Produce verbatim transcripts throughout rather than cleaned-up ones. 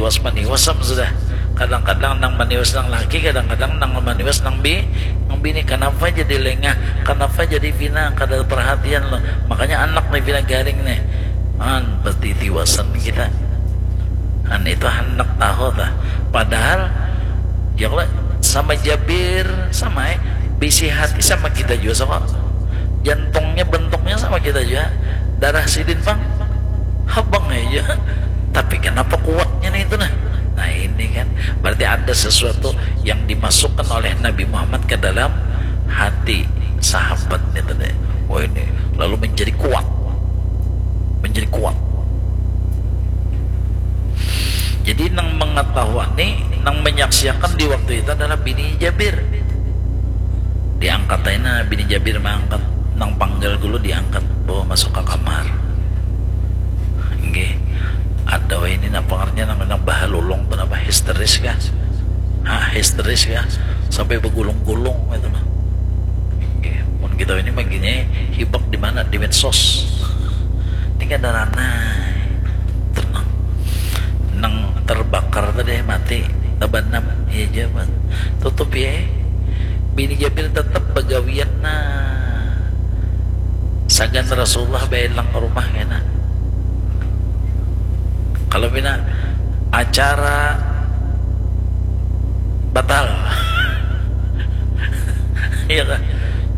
Pas maniwas am sudah. Kadang-kadang nang maniwas nang laki, kadang-kadang nang maniwas nang bi, nang bini. Kanapa jadi lengah? Kanapa jadi pina kada perhatian lo? Makanya anak nih pina garing nih. An, pasti tiwasan kita. An itu handak tahu tah. Padahal ya Allah, sama Jabir sama eh bisi hati sama kita juga sama. Jantungnya bentuknya sama kita juga. Darah sidin pang habang aja. Tapi kenapa kuatnya nih itu nah? Nah ini kan berarti ada sesuatu yang dimasukkan oleh Nabi Muhammad ke dalam hati sahabatnya tadi. Oh ini lalu menjadi kuat, menjadi kuat. Jadi nang mengetahui nih, nang menyaksikan di waktu itu adalah bini Jabir. Diangkat aja nah bini Jabir mengangkat, nang panggal dulu diangkat bawa masuk ke kamar. Nggih. Ada wah ini napa ngarnya nang nang bahalulung tu napa histeris kah? Hah, histeris kah? Sampai begulung-gulung itu nah. Nggih. Mun kita ini maginya hibak di mana? Di medsos. Ini kada ranai. Tenang. Nang terbakar tadi mati, tabanam. Iya aja, Mas. Tutup ya. Bini Jabir tetap bagawian nah. Sagan Rasulullah baelang ke rumah kena. Kalau pina acara batal. Iya kan?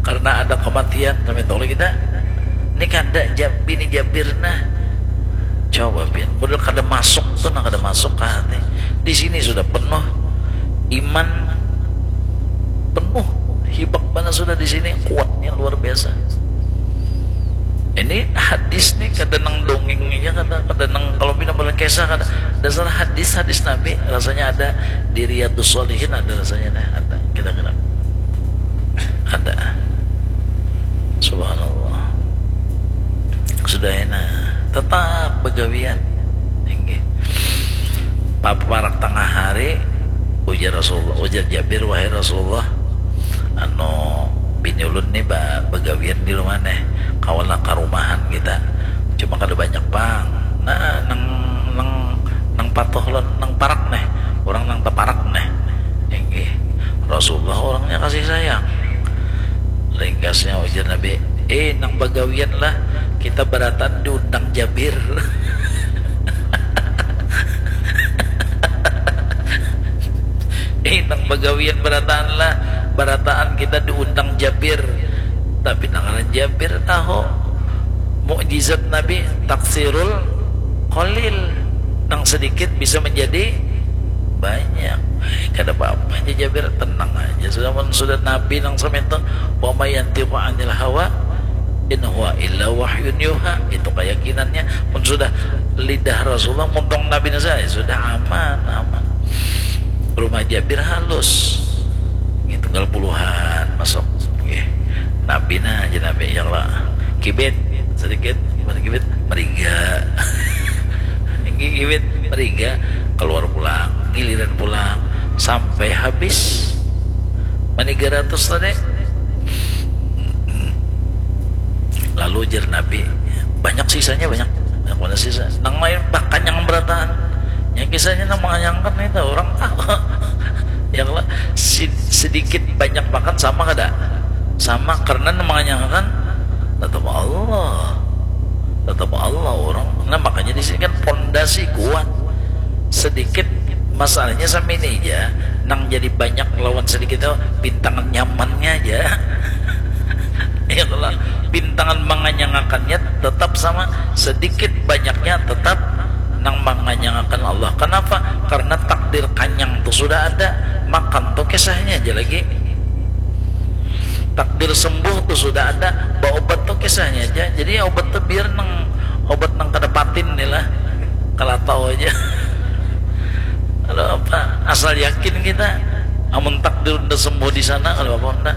Karena ada kematian sampai tahu kita. Ini kada jab, bini Jabir nah. Coba pian, model kada masuk tuh nah, kada masuk ke hati. Di sini sudah penuh iman, penuh hibak mana sudah di sini, kuatnya luar biasa. Ini hadis nih kada nang dongeng aja, kada kada nang kalau pina boleh kisah kada. Dasar hadis hadis Nabi rasanya ada di Riyadus Shalihin, ada rasanya nih, ada kira-kira ada. Subhanallah. Sudah enak, tetap begawian. Tinggi. Paparak tengah hari, ujar Rasulullah, ujar Jabir, wahai Rasulullah, anu bini ulun nih ba, begawian di rumah nih, kawalah karumahan kita, cuma kada banyak pang. Nah, nang nang nang patuh lawan nang parak nih, orang nang taparak nih. Inggih, Rasulullah orangnya kasih sayang. Ringkasnya ujar Nabi, eh nang bagawian lah, kita barataan diundang Jabir. Eh nang bagawian barataan lah, barataan kita diundang Jabir. Tapi nang ngaran Jabir tahu mukjizat Nabi, taksirul qalil, nang sedikit bisa menjadi banyak. Kada apa-apa aja Jabir, tenang aja. Sudah mun sudah Nabi nang samintu, wa ma yantiqu anil hawa in huwa illa wahyun yuha. Itu keyakinannya. Mun sudah lidah Rasulullah muntung Nabi nasa, ya sudah aman, aman. Rumah Jabir halus. Ini tunggal puluhan masuk. Oke. Nabi nah aja Nabi ya Allah. Kibit sedikit, gimana kibit? Meriga. Ini kibit meriga, keluar pulang, giliran pulang sampai habis. Maniga ratus tadi. Lalu jer Nabi, banyak sisanya banyak. Banyak mana sisa? Nang lain bahkan yang berataan. Yang kisahnya nang menganyangkan itu orang tahu. Yang lah sedikit banyak makan sama kada? Sama karena nang menganyangkan tetap Allah. Tetap Allah orang. Nah makanya di sini kan pondasi kuat. Sedikit masalahnya sama ini aja, nang jadi banyak lawan sedikit itu bintangan nyamannya aja. Ya kalau bintangan menganyangakannya tetap sama, sedikit banyaknya tetap nang menganyangakan Allah. Kenapa? Karena takdir kanyang tuh sudah ada, makan tuh kisahnya aja lagi. Takdir sembuh tuh sudah ada, berobat tuh kisahnya aja. Jadi obat tuh biar nang obat nang kada patin nih lah, kalau tahu aja. Kalau apa asal yakin kita, amun takdir udah sembuh di sana kalau apa udah.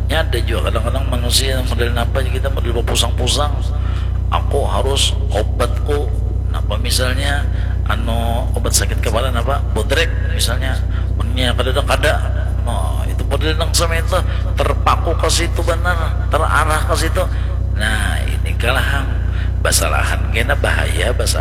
Ya ada juga kadang-kadang manusia model apa kita model berpusang-pusang. Aku harus obatku apa misalnya anu obat sakit kepala apa bodrek misalnya punya kada ada kada. Nah itu model nang sama itu terpaku ke situ benar terarah ke situ. Nah ini kalahang basalahan kena bahaya basalahan.